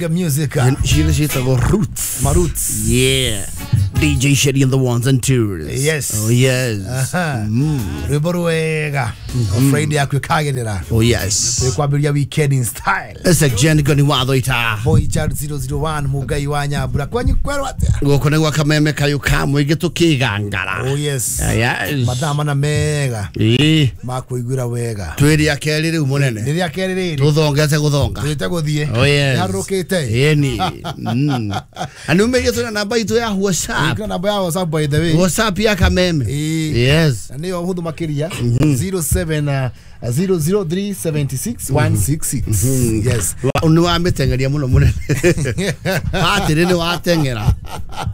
Reggae music. Cile ciĩtagwo roots. Ma roots. Yeah. DJ Shady and the ones and twos. Yes. Oh yes. Rwĩmbo rwega. Friday yaku ĩkagĩrĩra. Oh yes. Kwambĩrĩria weekend in style. It's a Jen Goni watho ita. Boy Child 001 Mugai wa Nyambura. Kwanyu kwerwo atĩa? Gũkũ nĩ gwa kameme kayũ ka mũingĩ tũkĩgangara. Oh yes. Yes. Mathaa mana mega Ĩĩ. ma kũiguĩra wega. Twĩ rĩa kerĩ rĩu mũnene. Rĩrĩa kerĩ rĩrĩ. Tũthongete gũthonga. Tũthiĩte gũthiĩ. Oh yes. Nĩharũrũkĩte. Ĩni. Na nĩ umĩrie twĩna namba itũ ya WhatsApp. Ĩkĩra namba ya WhatsApp by the way. WhatsApp ya kameme. Ĩĩ. Yes. Na nĩyo hũthũ makĩria 07 00376 166. Yes. Nĩ wamĩteng'eria mũno mũnene. Atĩrĩ nĩ wateng'era.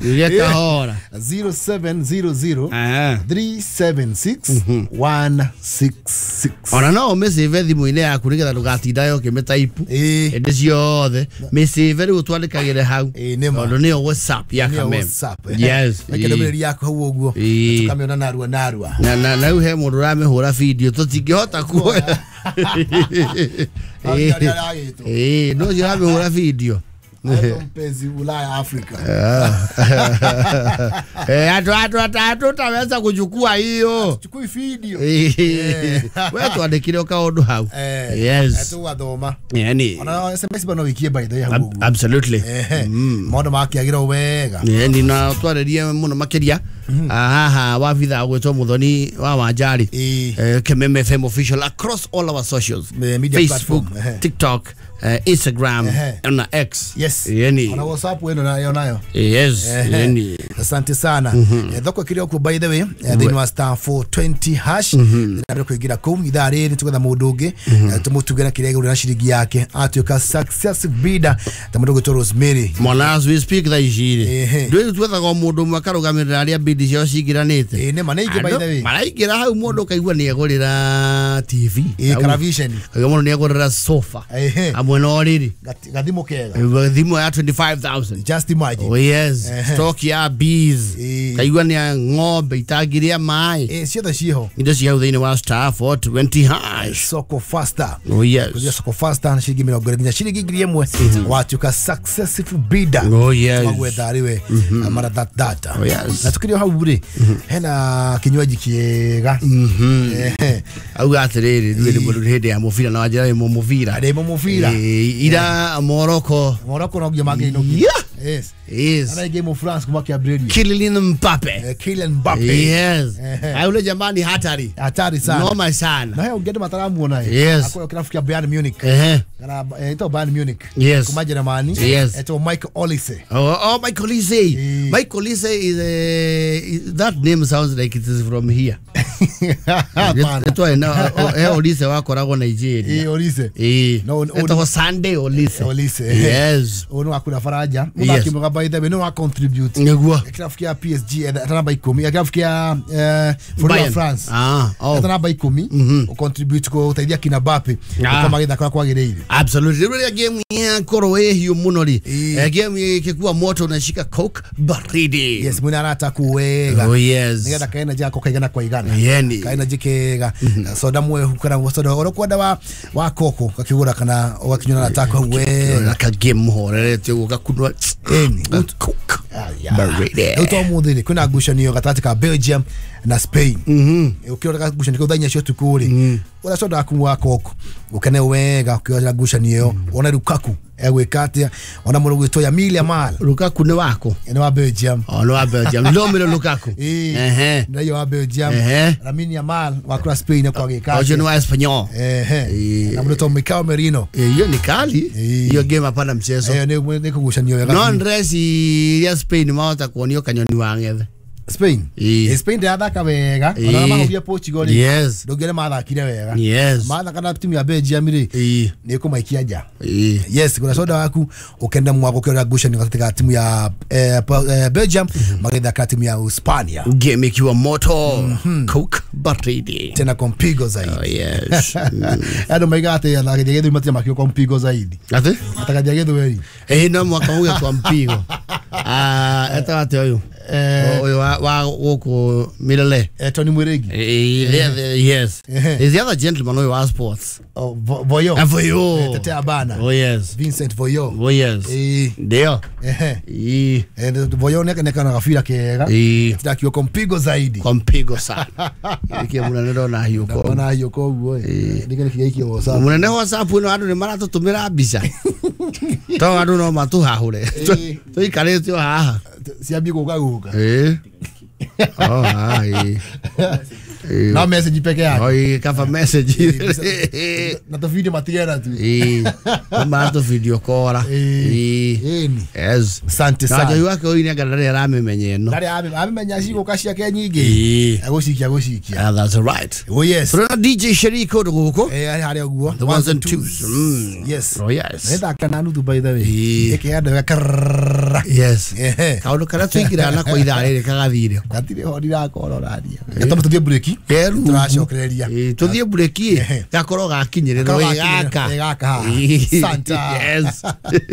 Gĩe kahora. 0700 Ah. 376 166. Ona no ũmĩcĩve thimũ-inĩ yaku nĩgetha ndũgatindae ũkĩmĩtaipu Ĩĩ. hĩndĩ ciothe mĩcĩve rĩu twandĩkagĩre hau Ĩĩ, nĩ ma. tondũ nĩyo WhatsApp ya Nĩyo kameme. WhatsApp. Yes. Reke ndũmĩrĩri yaku hau ũguo. Ĩĩ. Tũkamĩona narua narua. Na rĩu he mũndũ ũramĩhũra video tũtingĩhota kuoya. Arĩa aragĩtwo. Ĩĩ, no ũcio ũramĩhũra video. Aitwo mpenzi Ulaya Afrika. Andũ ataweza kuchukua hiyo. Chukui video. Ĩĩ. We twandĩkire o kaũndũ hau. Yes. Tũgathoma. Yani. Ona SMS bano wikie by the way hau ũguo. Absolutely. Ehe. Maũndũ makĩagĩra wega. Ni na twarĩrie mũno makĩria haha wabitha gwĩtwo Muthoni wa Wanjari. Ĩĩ. Kameme FM official across all our socials. Media Facebook, platform, ehe. TikTok, Instagram na X. Yes. Yani. Ona WhatsApp ĩno nayo nayo. Yes. Yani. Asante sana. Thoko ĩkĩrĩ o kuo by the way, thĩinĩ wa star 420 hash. Nĩ kũingĩra kũu ithaa rĩrĩ tũgetha mũndũ ũngĩ, tũmũtuge na kĩrĩa agũrĩra ciringi yake atuĩka successive bidder ta mũndũ ũgwĩtwo Rosemary. Mwana as we speak thaa ici rĩ Ehe. ndũĩ twethaga o mũndũ ũmwe akarũgamĩrĩra arĩa bidi ciao cingĩranĩte. Ĩĩ nĩ ma nĩ ingĩ by the way. Maraingĩra hau mũndũ ũkaigua nĩ egũrĩra TV. Ĩĩ kana vision. Kaigua mũndũ nĩ egũrĩra sofa. Ehe. Hamwe na ũrĩrĩ. Gathimũ kega. Thimũ ya 25,000. Just imagine. Oh yes. Ehe. Stock ya bees. Ĩĩ. Kaigua nĩ ya ng'ombe itangĩrĩa maĩ. Ĩĩ ciothe ciĩho. Indo cia hau thĩinĩ wa star 420 hash. Soko faster. Oh yes. Kũthia soko faster na ciringi mĩrongo ĩrĩ nginya ciringi 1,000 watuĩka successful bidder. Oh yes. Magwetha arĩ we mara that data. Oh yes. Na tukĩrĩ o hau rĩ hena kinywaji kĩega. Ehe. Auga atĩrĩrĩ rĩu nĩ mũndũ hĩndĩ ya mũbira na wanjĩra wĩ mũbira. Ndĩ mũbira. Ĩĩ, ira Morocco. Morocco no nginya mangĩinũkia. Yeah. Yes. Yes. Ana game of France kuma kĩambĩrĩria. Kylian Mbappe. Kylian Mbappe. Yes. Ehe. Yule jamaa ni hatari. Hatari sana. Noma sana. Na he ũngĩ andũ mataramuona ĩ. Yes. Akorwo kĩrabu kĩa Bayern Munich. Ehe. Kana ĩtagwo Bayern Munich. Yes. Kuma Jeremani. Yes. Etagwo Michael Olise. Oh, Michael Olise. Eh. Michael Olise is that name sounds like it is from here. Hapana. Etwa na Olise wakoragwo Nigeria. Ĩ Olise. Eh. No, Etagwo Sunday Olise. Olise. Yes. Ũyũ nĩ wa kũrĩa Faranja. Mũthaki mwega by the way nĩ wa contribute. Nĩguo. Kĩrabu kĩa PSG eta namba 10 kĩrabu kĩa bũrũri wa Bayern. France. Ah, oh. Eta namba 10 ũcontribute gũteithia kina Mbappe Ah. gũkorwo magĩthaka ũrĩa kwagĩrĩire. Absolutely. Rĩu rĩrĩa game yakorwo ĩ hiũ mũno rĩ. Ĩĩ. Game ĩkĩkua moto unashika Coke baridi. Yes, mwĩna arataku wega. Oh yes. Nĩgetha kaenergy gako kaigana kwa igana. Yeni. Kaenergy kega. Soda mwehu kana soda ũrĩa ũkwenda wa koko gakĩgũra kana ũgakinyua na arataku hau wega. Ka game mũhorerete ũguo gakunwa. Ĩni. Coke baridi. Rĩu to ũmũthĩ rĩ kwĩna ngucanio gatagatĩ ka Belgium na Spain. Ũkĩrora ngucanio kĩu thaa inya cia ũtukũ rĩ ũrĩa soda waku wa koko ũkene wega ũkĩrora ngucanio ĩyo wone Lukaku egwĩka atĩa ona mũndũ ũgwĩtwo Lamine Yamal Lukaku nĩ wako. nĩ wa Belgium. Oh, nĩ wa Belgium. Romelu Lukaku. Ĩĩ. Ehe. Nĩ wa Belgium. Ehe. Lamine Yamal wa kura Spain ekwagĩka Ũcio atĩa. nĩ wa Espanyol. Ehe. Ĩĩ. Na mũndũ ũgwĩtwo Mikel Merino. Hiyo ni kali. Ĩĩ. Hiyo game hapana mchezo. Ĩyo nĩ kũgucanio wega. No ndreci ya Spain mahota kuonio kanyoni wa ng'ethe. Spain. Ĩĩ. Spain ndĩrathaka wega. Ĩĩ. Ona mahũria Portugal rĩ. Yes. Ndũngĩone mathakire wega. Yes. Mathaka na timu ya Belgium rĩ Ĩĩ. nĩ kũmaikia nja. Ĩĩ. Yes, gũra soda waku ũkenda mwako ũkĩrora ngucanio gatagatĩ ka timu ya Belgium magĩthaka timu ya Hispania. Game ikiwa moto. Coke baridi. Tena kwa mpigo zaidi. Oh yes. Andũ maigaga atĩ athaki a gĩthweri matirĩ makĩo kwa mpigo zaidi. Atĩ? Athaki a gĩthweri. Ĩĩ no mwaka uge kwa mpigo. Ah, etagwo atĩa ũyũ? Ũyũ wa gũkũ Milele. Tony Mwirigi. Yes. There's the other gentleman ũyũ wa sports. Oh, Voyo. Voyo. Tetea bana. Oh yes. Vincent Voyo. Oh yes. Ndio. Voyo neka na gabira kega. Tirakiwa kwa mpigo zaidi. Kwa mpigo sana. Nĩkĩo mũnene ndona hiũko. Ndona hiũko ũguo. Nĩkĩo nĩkĩo WhatsApp. Mũnene WhatsApp ĩno andũ nĩ maratũtũmĩra mbica. To andũ no matũhahũre. Tũikarĩte o haha. Ciambie gũka gũka. Oh, hai. Na message peke yake. Oi, kava message. Na to video matigera tu. Ma to video kora. Yes. Asante sana. Na njohi wake oine anga ndarĩ aramĩmenya ĩno. Ndarĩ amĩmenya cigũka ciake nyingĩ. Agũcikia agũcikia. Ah, that's right. Oh yes. Tuna DJ Sheriko gũkũ. Harĩa ũguo. The ones and twos. Yes. Oh yes. Nĩthaka na nuthu by the way. Ĩkĩenda wega. Yes. Kaũndũ karĩa tũingĩraga nako ithaa rĩrĩ kagathire. Gatirĩ ho ndirakorwo ũraria. Gatamba tũthiĩ break. Tũracokereria. Tũthiĩ break gakorwo gakinyĩrĩrwo gaka. Gaka. Santa. Yes.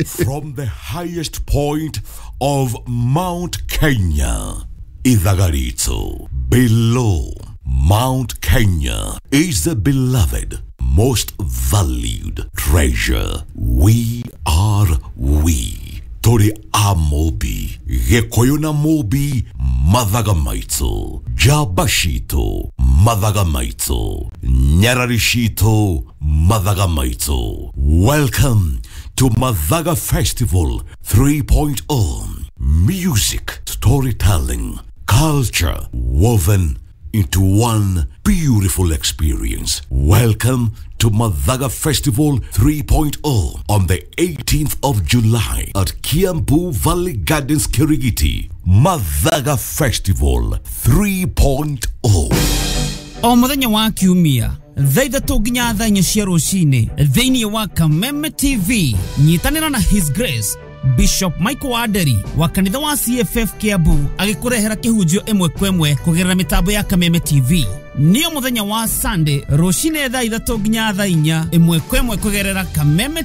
From the highest point of Mount Kenya, Ithagarito, below Mount Kenya is the beloved, most valued treasure. We are we. Tori a Mobi, Gĩkũyũ na Mobi, Mathaga maitũ, Njamba citũ, Mathaga maitũ, Nyarari citũ, Mathaga maitũ. Welcome to Mathaga Festival 3.0. Music, storytelling, culture woven into one beautiful experience. Welcome to Mathaga Festival 3.0 on the 18th of July at Kiambu Valley Gardens, Kirigiti. Mathaga Festival 3.0. O muthenya wa kiumia thaa ithatũ nginya thaa inya cia rũcinĩ thĩinĩ wa Kameme TV nyitanĩra na His Grace Bishop Michael Waderi wa kanitha wa CFF Kiambu agĩkũrehera kĩhunjio ĩmwe kwa ĩmwe kũgerera mĩtambo ya Kameme TV. Nĩyo mũthenya wa Sunday rũcinĩ thaa ithatũ nginya thaa inya ĩmwe kwa ĩmwe kũgerera Kameme